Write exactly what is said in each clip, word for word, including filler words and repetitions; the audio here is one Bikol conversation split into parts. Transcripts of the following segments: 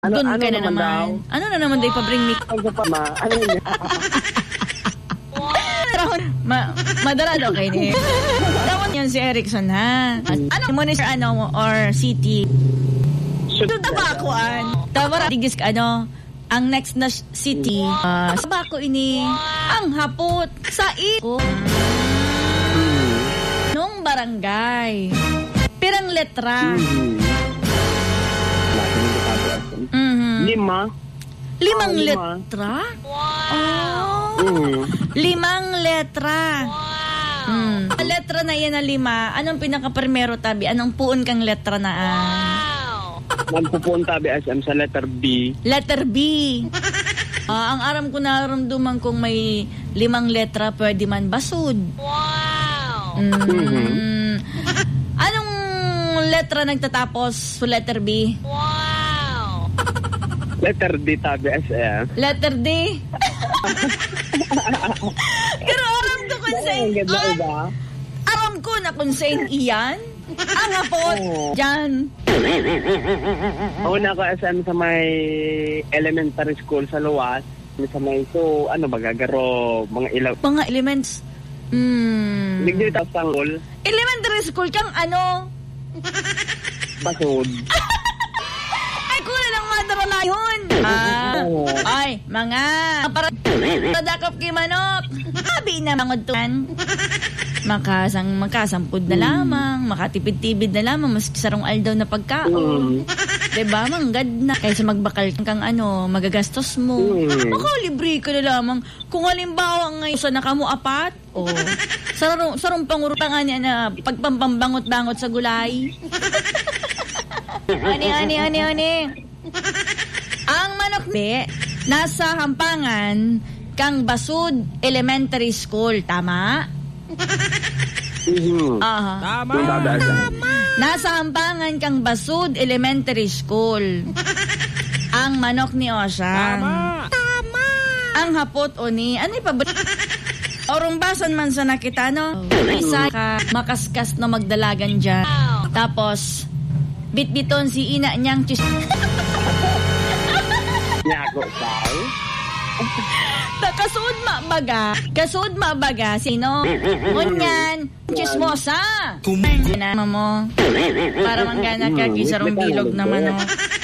Ano, Doon ano ka na naman naman. daw? Ano na naman daw ipabring ni Ano pa ma? Ano yun? Pero ma-, madala daw kayo ni. Tawag niyan si Erickson, ha? Ano mo ni Sir ano or City? Sure. Ito, Tabacoan. Tawara, digis ka, ano? Ang next na sh-, city, ah, Tabaco ini. Ang hapot sa i-, Hmm. nung barangay. Pirang letra? Hmm. Lahat ng detalye, ah. Mhm. Lima. Limang Ah, lima. letra? Wow! Oh. Mm. Limang letra. Wow! Mm. Ang letra na iyan na lima, anong pinakaprimero, tabi? Anong puon kang letra na, ah? Wow! Magpupuon tabi, S M, sa letter B. Letter B. Ah, ang aram ko, naramdaman kong may limang letra, pwede man basod. Wow! Mm. Mhm. Anong letra nagtatapos sa letter B? Wow! Letter D tabi, S M. Letter D? Pero aram ko kung Dahil saan, ang ganda, ah, iba. aram ko na kung saan iyan. Ang hapot, Oo. dyan. Una ko, S M, sa may elementary school sa Luwas. Sa may, so, ano, baga, garo, mga ilaw. Mga elements. Hmm. Digdi ta sa school. Elementary school kang ano? Basod. Ay, kuna lang, madara na yun. Ah. Oo. Ay, mga, para, padakop kay manok. Sabi na, mangudtuan. Makasang, makasampod na Hmm. lamang, makatipid-tipid na lamang, maski sarong aldaw na pagkaon. Hmm. Diba? Manggad na. Kaysa magbakal kang ano, magagastos mo. Hmm. Makalibre ka na lamang. Kung halimbawa, ngayon, sa nakamo apat, oh, sarong, sarong pangurutang ani na pagpampambangot-bangot sa gulay. Ani, ani, ani, ani. Ang manok ni nasa Hampangan kang Basud Elementary School, tama? Mhm. Aha. Tama. Tama. Nasa Hampangan kang Basud Elementary School. Ang manok ni Ocean. Tama. Tama. Ang hapot o ni, ano yung pabor-, Orong basan man sa nakita, no? Isa ka makaskas na magdalagan dyan. Tapos, bitbiton si ina niyang chis-, Yago, Sai. Ta, kasuod mabaga, kasuod mabaga, sino? Ngunyan, chismosa. Kumain na mo. Para manggana ka, Mm, kisarong may bilog tanong naman, din. oh.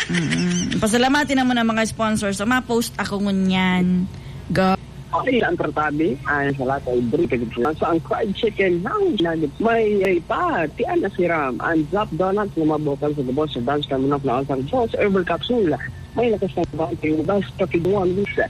Mm-mm. Pasalamati naman ang mga sponsors. So, ma-post ako ngunyan. Go. Okay, ang tratabi ay sa lahat ay brief. So, ang fried chicken, ang nugget, may, may pa, tiyan na siram, ang Zap Donuts na mabukan sa gabos sa dance ka manok na asang boss, herbal capsule. May lakas ng bawang, basta pigmuan, bisa.